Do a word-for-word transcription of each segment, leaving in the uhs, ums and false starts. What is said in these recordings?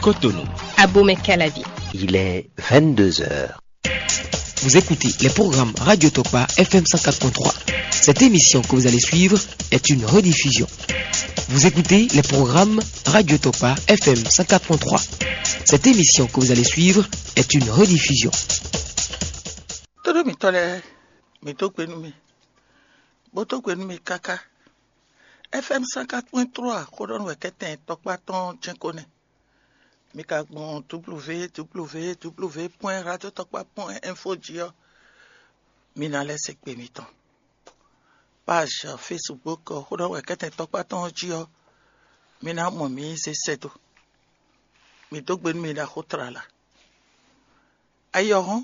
Cotonou. Abomey Calavi. Il est vingt-deux heures. Vous écoutez les programmes Radio Tokpa F M cent quatre point trois. Cette émission que vous allez suivre est une rediffusion. Vous écoutez les programmes Radio Tokpa F M cent quatre point trois. Cette émission que vous allez suivre est une rediffusion. Tóɖó mǐtɔn lɛ́ɛ, mǐ dó gbe nú mi, bó dó gbe nú mi káká. F M cent quatre point trois xó ɖɔ nú wɛ kɛ́tɛn tɔkpá tɔn jɛ́n ko nɛ́. Mi ka gbɔn W W W point radio tɔkpá point info jí ɔ́, mi ná lɛ́ se gbe mitɔn. Page Facebook xó ɖɔ wɛ kɛ́tɛn tɔkpá tɔn jí ɔ́, mi ná mɔ mǐ zé sɛ́ dó. Mi dó gbe nú mi ɖaxó tlala. Ayi ɔ́ hɔ́n,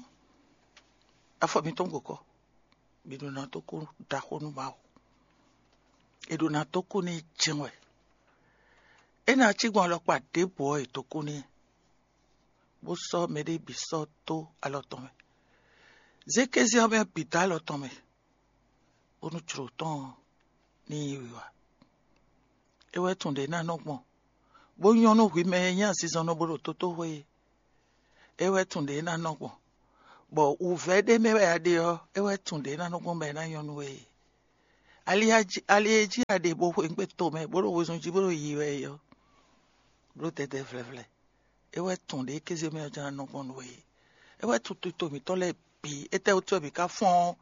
afɔ mitɔn gbo kɔ, mi ɖo ná dó kú ɖaxó nú Mawu. È ɖo ná dó kú n'i jɛ́n wɛ. É ná cí gbɔn alɔkpa ɖěbǔ ɔ́, è dó kú n'i, bó sɔ́ mɛɖée bǐ sɔ́ dó alɔ tɔn mɛ. Zé kéze ɔ́ mɛ bǐ dó alɔ tɔn mɛ, bónú jlǒ tɔn ɔ́ ní nyí wiwa. É wɛ tunwun ɖě ná nɔ gbɔn, bó nyɔ́ nú hwi mɛ e nyí azinzɔnnɔ bó ɖo tótóxwé é. É wɛ tunwun ɖě ná nɔ gbɔn, bɔ wǔvɛ́ ɖé mɛ wɛ a ɖe ɔ́, é wɛ tunwun ɖě ná nɔ gbɔn bɔ é ná nyɔ́ nú we é. Ali e jí a ɖe bó xweyǐgbe tomɛ, bó ɖo wezun jí, bó ɖo yiyi wɛ é ɔ́, bló dɛdɛ vlɛvlɛ. É wɛ tunwun ɖě kéze mɛ ɔ́ jlá nɔ gbɔn nú we é. É wɛ tunwun tito mǐtɔn lɛ́ɛ bǐ. Étɛ́wútu wɛ mǐ ka fɔ́n ɔ́,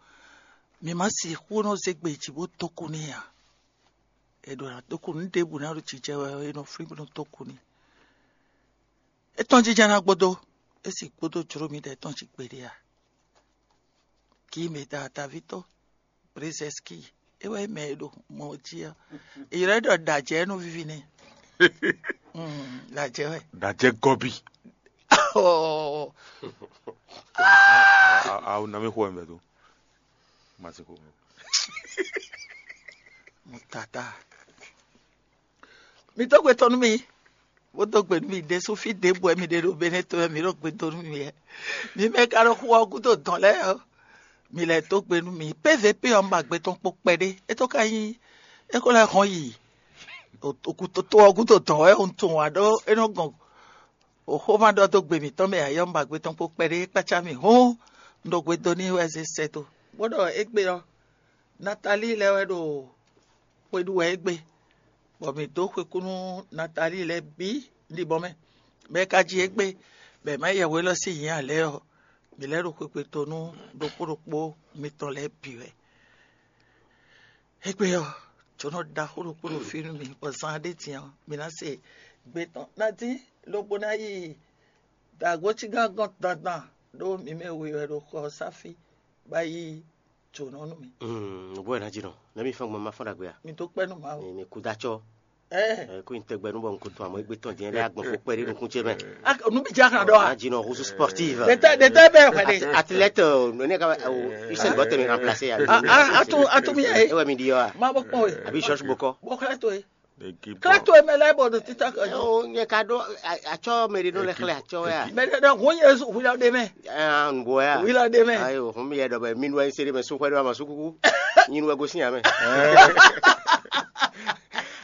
mǐ ma sixú nɔ zé gbe jí bó dó kú n'i ǎ. È ɖǒ ná dó kú nǔ ɖěbǔ ná ɖo jijɛ wɛ ɔ́, è nɔ flín bó nɔ dó kú n'i. É tɔ́n jínjɔ́n ná gbódó, é sì gbódó jló mǐdɛɛ tɔn jí gbeɖé ǎ. Kí mɛ ta taví tó, Brezɛski, é wɛ mɛ e ɖo mɔ jí ɔ́. È ylɔ́ ɛ ɖɔ ɖajɛ nú vivi nɛ. Ɖajɛ wɛ. Ɖajɛ gɔbi. Awo na mi xo ɛmɛ do. Masi xo. Tata. Mi dó gbe tɔn nú mi, bó dó gbe nú mi ɖésú fí ɖěbǔ wɛ mi ɖe ɖo Benɛ́ to wɛ mi ɖo gbe dó nú mi wɛ. Mi mɛ ka ɖo xu ɔ́ gúdo dɔn lɛ́ɛ ɔ́, mi lɛ́ dó gbe nú mi. P V P ɔ́, un ba gbe tɔn kpo kpɛɖé. É tó ka nyí é ko lɛ́ hɔn yi oku toto ɔ́ gúdo dɔn wɛ un tunwun ǎ ɖó é nɔ gɔn xóxóma ɖɔ dó gbe mǐtɔn mɛ ǎ. Yɔ un ba gbe tɔn kpo kpɛɖé kpácá mì hɔn un ɖo gbe dó n'i wɛ zé sɛ́ dó. Bó ɖɔ égbé ɔ́, Natalíi lɛ́ɛ wɛ ɖo xwe ɖu wɛ égbé, bɔ mǐ dó xwekú nú Natalíi lɛ́ɛ bǐ ɖibɔ mɛ. Mɛ e ka ji égbé, bɔ è má yɛ hwe élɔ́ sín nyǐ ǎ lɛ́ɛ ɔ́, mǐ lɛ́ ɖo xwekpe to nú ɖokpó ɖokpó mitɔn lɛ́ɛ bǐ wɛ. Égbé ɔ́, jǒnɔ ɖaxó ɖokpó ɖo fí nú mì, bɔ zan ɖé din ɔ́, mǐ ná se gbe tɔn ná dín, lobo ná yi dǎgbócígán gɔ́n dandan, ɖó mǐ mɛ we wɛ ɖo xɔ ɔ́ sá fí, bá yí jǒnɔ nú mì. Nǔgbó wɛ ná jí nɔ, nɛ́ mi fɔ́n gbɔn ma fɔ́n ɖagbe a? Mi dó kpɛ́ nú Mawu. Mi kú dá acɔ́. Ɛ, kó nyi tɛgbɛ nú bɔ un ko tún amɔ égbé tɔn din lɛ agbɔn kó kpɛɖé nukún ce mɛ. Nú mi jɛ xlã ɖɔ a? Jí nɔ husu sportive. Ɖetɛ ɖetɛ bɛ xɛ ɖe. Athlète, ne ka Usain Bolt mi remplacer ya. Atu atu mi yɛ. Ewa mi di yɔ a? Ma bɔ kpɔn ye. Abi George Bokɔ. Bɔ kla to ye. Kla to ye mɛ lɛ bɔ do tita kan. O nyɛ ka ɖo atsɔ mɛ ɖe nɔ lɛ xlɛ atsɔ ya. Mɛ ɖe ɖe hun ye zu hu ya ɖe mɛ. An bo ya. Hu la ɖe mɛ. Ayo, hun mi yɛ ɖɔ bɛ mi nu ɛn sere mɛ su xɔ ɖe ma su kuku. Nyi nu wɛ gosín amɛ.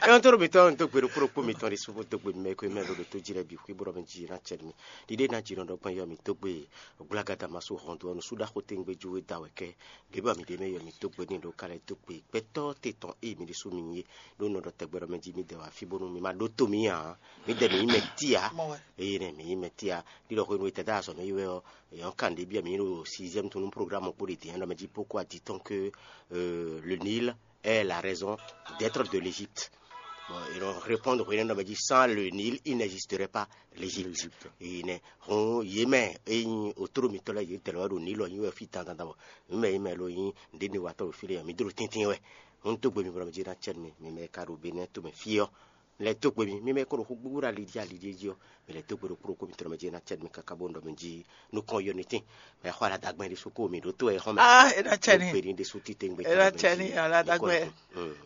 Ɛn toro mitɔn to gbe ɖokpó ɖokpó mitɔn ɖi suvo dogbe mɛ ko mɛ ɖo ɖo to jí lɛ bi xwi bro mi jí na cɛ mi ɖiɖe na jí nɔ ɖɔ gbɔn yɔ mi dogbe gbla gada ma so hɔn do ɔnu suda xote ngbe ju da wɛ kɛ ɖe ba mi ɖe mɛ yɔ mi dogbe ni ɖo kalɛ dogbe gbɛtɔ te tɔn e mi ɖi su mi ye ɖo nɔ ɖɔ tɛgbɛ ɖɔ mɛ jí mi dɛ wa fi bonu mi ma ɖo to mi ya mi dɛ mi yi mɛ tia eye nɛ mi yi mɛ tia ɖi ɖɔ xwenu etɛ da azɔ mi yi wɛ ɔ yɔn kan ɖe bia mi ɖo sixième tunu programme kpo ɖe diɛ ɖɔ mɛ jí poko adi tɔn ke euh, le Nil est la raison d'être de l'Égypte. Bon, ils vont répondre au Nil, dit, sans le Nil, il n'existerait pas l'Égypte. Ine hɔn yé mɛ eyin otoro mitɔ lɛ yé tɛlɛ wɛ ɖo Nil ɔ nyi wɛ fi dandan bɔ mi mɛ yi mɛ lo yin ɖe ne wa tɔ fi le mi dro tɛntɛn wɛ hɔn to gbe mi bɔ mi dzi na cɛ mi mi mɛ ka ɖo be ne to mɛ fi ɔ lɛ to gbe mi mi mɛ ko ɖo xo gbogbo ɖe ali dzi ali dzi ɔ mi lɛ to gbe ɖo kplo ko mi tɔ mɛ dzi na cɛ mi kaka bo ɖɔ mi dzi nukɔn yɔ ni tin mɛ xɔ ala dagbɛn ɖi su ko mi ɖo to ɛ xɔ mɛ. Ah, e na cɛ ni. Gbe ni ɖi su tite gbe. E na cɛ ni ala dagbɛn.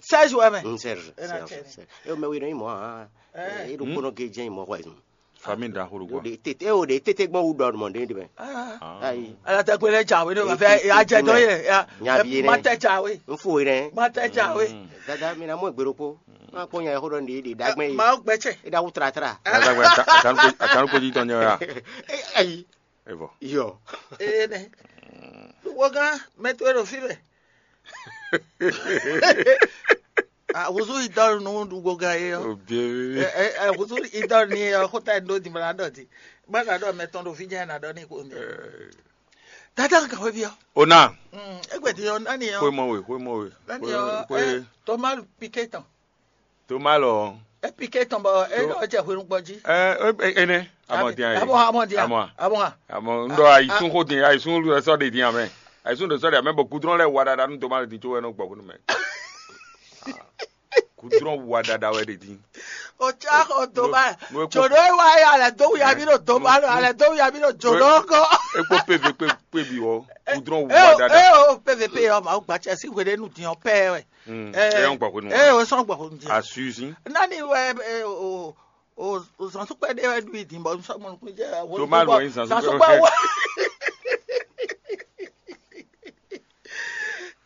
Seize wɛ mɛ. Seize. E na cɛ ni. E mɛ wi nɔ yi mɔ ah. E ɖo kpɔnɔ ge jɛ yi mɔ xɔ yi. Fami da xolo gua. De tete o de tete gbɔn wu dɔ mɔ de de mɛ. Ayi. Ala dagbɛn lɛ ja we ne ma fɛ ya jɛ dɔ ye ya. Nyabi ye ne. Ma tɛ ja we. N fo ye ne. Ma tɛ ja we. Dada mi na mɔ egbero ko. Má kpɔ́n nya e xó ɖɔ nǔɖé ɖe ɖagbe e. Mawu gbɛtsɛ. É ɖa wú tlatra. Azagbe, atanukodi tɔn nyɛ wɛ a? Ayi. Evɔ. Yɔ. Ene. Wogán, mɛ towe ɖo fí mɛ. Huzu idɔl nú ɖugbo gán é ɔ́. Obiɛ. Huzu idɔl ní é ɔ́, xóta é ɖó dimla ɖɔ di. Má ka ɖɔ mɛ tɔn ɖo fí jɛ́n ná ɖɔ ní kó mi. Dada ka hweví ɔ́. Ona. Égbè din ɔ́, nani ɔ́? Xwé mɔ we, xwé mɔ we. Nani ɔ́? Xwé. Toma piqué tɔn. Toma lɔ. É piqué tɔn bɔ é ɖɔ jɛ hwenu gbɔ jí. Ɛ ɛ ɛ nɛ. Amɔ diyan ye. Amɔ, amɔ diyan. Amɔ. Amɔ. Amɔ, n ɖɔ ayisún xó din, ayisún lɔ sɔ de din amɛ. Ayisún ɖo sɔ de amɛ bɔ gudrɔn lɛ wa ɖaɖa nú Toma lɛ din tso wɛ nɔ gbɔ bónú mɛ. Gudrɔn wa ɖaɖa wɛ ɖe din. O tsa xɔ Toma. Jòɖó e wa ya lɛ dó wuya mi ɖo Toma lɔ, alɛ dó wuya mi ɖo jòɖó kɔ. Ekpo pv kpe kpe bi wɔ. Gudrɔn wa ɖaɖa. E o pv pe yɔ ma o gbatsɛ si hwe ɖe nu din ɔ pɛ wɛ. Mm, ɛ, é yɔn gbɔ hwenu. Ɛ, o sɔn gbɔ hwenu jɛ. Asuzi. Nani wɛ ɛ, o o o zɔnsukpɛ ɖe wɛ ɖu yi din bɔ sɔgbɔn nukun jɛ. Toma lɔ yin zɔnsukpɛ. Zɔnsukpɛ wɛ.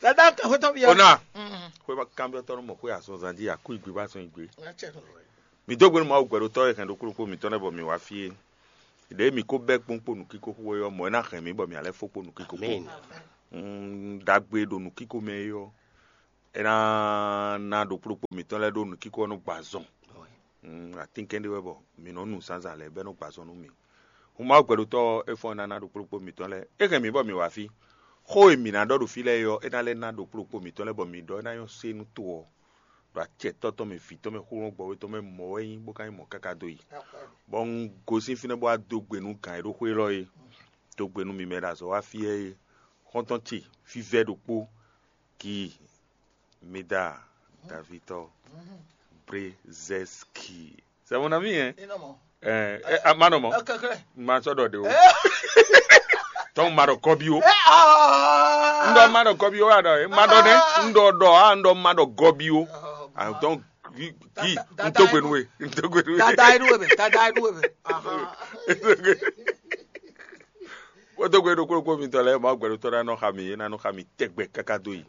Dada ka hwetɔ bi yɔ. Ona. Mm. Xwe ba kan bi tɔnu mɔ xwe azɔnzan ji aku igbe ba sɔn igbe. Mi dó gbenu Mawu gbɛɖotɔ́ e hɛn ɖokpóɖokpó mǐtɔn lɛ́ɛ bɔ mǐ wá fí é. Ɖěe mǐ ko bɛ́ kpɔ́n kpó nǔkíko xwe ɔ́, mɔ̌ é ná hɛn mǐ bɔ mǐ ná lɛ́ fó kpó nǔkíko kpó. Amɛn. Mm, ɖagbe ɖo nǔkíko mɛ é ɔ́, é ná ná ɖokpóɖokpó mǐtɔn lɛ́ɛ ɖó nǔkíko ɔ́ nɔ gbɔ azɔn. Mm, atínkɛn ɖé wɛ bɔ mǐ nɔ nu zǎnzǎn lɛ́ɛ bɔ é nɔ gbɔ azɔn nú mǐ. Hun Mawu gbɛɖotɔ́ ɔ́, é fɔ́n ná ná ɖokpóɖokpó mǐtɔn lɛ́ɛ. É hɛn mǐ bɔ mǐ wá fí. Xó e mǐ ná ɖɔ ɖo fí lɛ́ɛ é ɔ́, é ná lɛ́ ná ɖokpóɖokpó mǐtɔn lɛ́ɛ bɔ mǐ ɖɔ é ná nyɔ́ sé nú to ɔ́, ɖo acɛ tɔ́ tɔn mɛ, vǐ tɔn mɛ, xúlɔ́ gbɔwé tɔn mɛ, mɔ̌ wɛ nyí bó ka nyí mɔ̌ káká dó yi. Bɔ un gosín fínɛ́ bó wá dó gbe nú gǎn e ɖó xwé élɔ́ é, dó gbe nú mi mɛ ɖo azɔ̌ wá fí ɛ é, xɔ́ntɔn ce fívɛ́ ɖokpó, Ki, Mida, Davitɔ, Brezɛski. C'est mon ami, hein? Ɛ, ɛ, a ma nɔ mɔ. Ma sɔ ɖɔ ɖe o. Tɔn ma ɖɔ kɔbi o. N ɖɔ ma ɖɔ kɔbi o, a ɖɔ e ma ɖɔ nɛ. N ɖɔ ɖɔ a n ɖɔ ma ɖɔ gɔbi o. Ah, donc, ki, ki, n to gbenu we, n to gbenu we. Dada e nu we mɛ, dada e nu we mɛ. Ahan. Kpódó gbe ɖokpó ɖokpó mitɔn lɛ́ɛ, Mawu gbɛɖotɔ́ ná nɔ xa mì, é ná nɔ xa mì tɛgbɛ káká dó yi.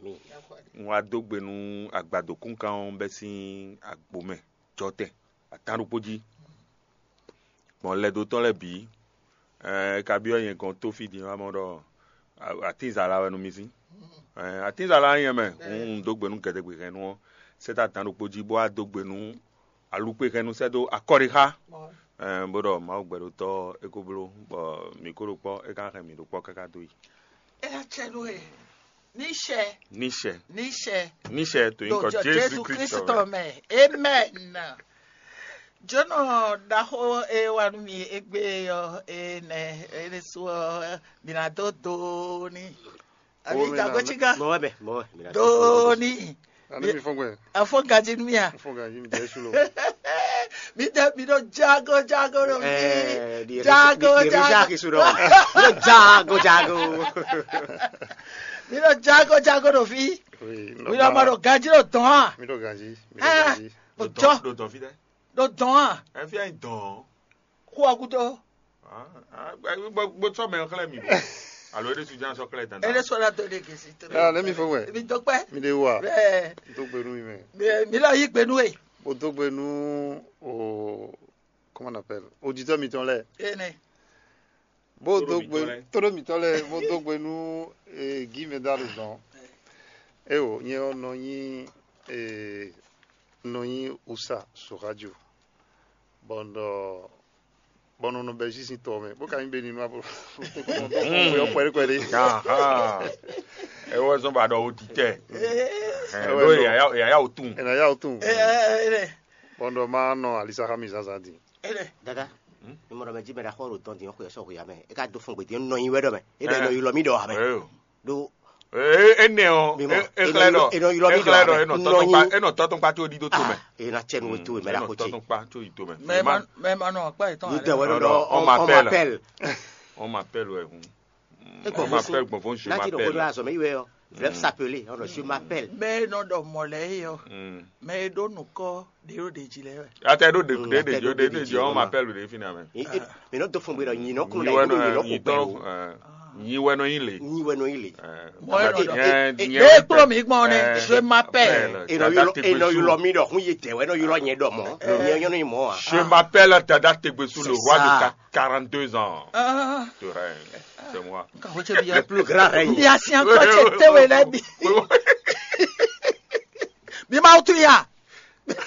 Un wá dó gbe nú agbadokúnkan ɔ́ bɛ́ sín agbo mɛ jɔtɛn atán ɖokpó jí. Gbɔn lɛdó tɔn lɛ́ɛ bǐ, ɛ, é ka byɔ́ nyɛ gɔ́n tó fí din wá mɔ ɖɔ atínzala wɛ nú mi sín. Ɛ, atínzala nyɛ mɛ, un dó gbe nú gɛdɛgbehɛnnú ɔ́, sɛ́ tá adán ɖokpó jí bó wá dó gbe nú alukpehɛnnu sɛ́ dó akɔ́ɖixa, ɛ, bó ɖɔ Mawu gbɛɖotɔ́ é ko bló, bɔ mǐ ko ɖo kpɔ́, é ka hɛn mǐ ɖo kpɔ́ káká dó yi. É ná cɛ nú we. Ní sɛ. Ní sɛ. Ní sɛ. Ní sɛ to nyǐkɔ Jezu Kristu mɛ. Amen. Jǒnɔ ɖaxó e wá nú mi égbé ɔ́, é nɛ́ é ɖésú ɔ́, mi ná dó do n'i. Àbí jagó cí gán? Mɔ̌ wɛ mɛ, mɔ̌ wɛ. Dó n'i. Àní mi fɔ́n gbɛ. Afɔ gaji nú mi a? Fɔ́n gbɛ, yí mi jẹ́ sú lo. Mi dɛ mi ɖo jago jago ɖo fi. Jago jago. Ɖo jago jago. Mi ɖo jago jago ɖo fi. Mi ɖo ma ɖo gaji ɖo dɔn a? Mi ɖo gaji. Mi ɖo gaji. Ɖo dɔn. Ɖo dɔn fi dɛ. Ɖo dɔn a? Ɛ fi anyi dɔn. Xó ɔ gúdo. Gbɔtsɔ mɛ xlɛ́ mi ɖo. Alo é ɖésú ján sɔ́ xlɛ́ dandan. É ɖésú ɔ́ ná dó ɖe gěsí tó. Ah, let me fún wɛ. Mi dó kpẹ́. Mi ɖe wa. Bẹ́ẹ̀. Dó gbe nú mi mɛ. Bẹ́ẹ̀ mi lọ yí gbe nú e. Mo dó gbe nú o, comment on appelle, auditeur mitɔn lɛ. Ene. Bó dó gbe, tóɖó mitɔn lɛ, bó dó gbe nú e, Guy Medal zɔn. Eo, nyɛ ɔ́ nɔ nyi e, nɔ nyi usa so radio. Bɔ un ɖɔ bɔ nɔ nɔ bɛ zi sin tɔ mɛ bó ka nyí beni nua bó bó yɔ kpɛɖé kpɛɖé. Ewɔ zɔn ba ɖɔ o ti tɛ. Ɖó yaya o tun. Ɛnɛ ya o tun. Bɔn ɖɔ ma nɔ alisa xa mi zazan din. Dada, mi mɔ ɖɔ mɛ jí mɛ ɖaxɔ ɖo dɔn din xwe sɔ xwe amɛ e ka do fun gbedi nɔ nyi wɛ ɖɔ mɛ e ɖɔ nɔ yi lɔ mi ɖɔ amɛ. Ɖo Ee, enɛ ɔ, e xlɛ ɖɔ e nɔ ylɔ mi ɖɔ e nɔ tɔtɔnkpa e nɔ tɔtɔnkpa tó ɖi ɖó to mɛ. E na cɛ nu to mɛ la ko ce. Tɔtɔnkpa tó yi to mɛ. Mɛ ma nɔ akpa yetɔn. Ni dɛ wɛ ɖɔ on m'appelle. On m'appelle wɛ hun. On m'appelle gbɔn fún je m'appelle. Láti ɖo kodo azɔ mɛ yi wɛ ɔ. Vlɛ s'appeler ɔn je m'appelle. Mɛ nɔ ɖɔ mɔ lɛ yi ɔ. Mɛ ɖo nukɔ ɖe ɖo ɖe ji lɛ wɛ. Ata ɖo ɖe ɖe ɖe ji ɖe ɖe ji on m'appelle ɖe fi na mɛ. Mi nɔ do fún mi ɖɔ nyi nɔ kun na yi nɔ kun gbɛ. Nyi wɛ nɔ nyi le. Nyi wɛ nɔ yi le. Mɔ ɛ nɔ ɖɔ. Ɖe kplɔ́ mi gbɔn nɛ, je m'appelle. Enɔ yɔlɔ enɔ yɔlɔ mi ɖɔ hun yi tɛ wɛ enɔ yɔlɔ nyɛ ɖɔ mɔ nyɛ nyɔ nyi mɔ a. Je m'appelle Dada Tegbesu, le C'est roi ça. de qua- quarante-deux ans. Ah, Tu règnes. C'est moi. Ka ho cɛ bi ya. Plus grand règne. Bi asi an kɔ cɛ te wɛ lɛ bi. Bi ma tu ya.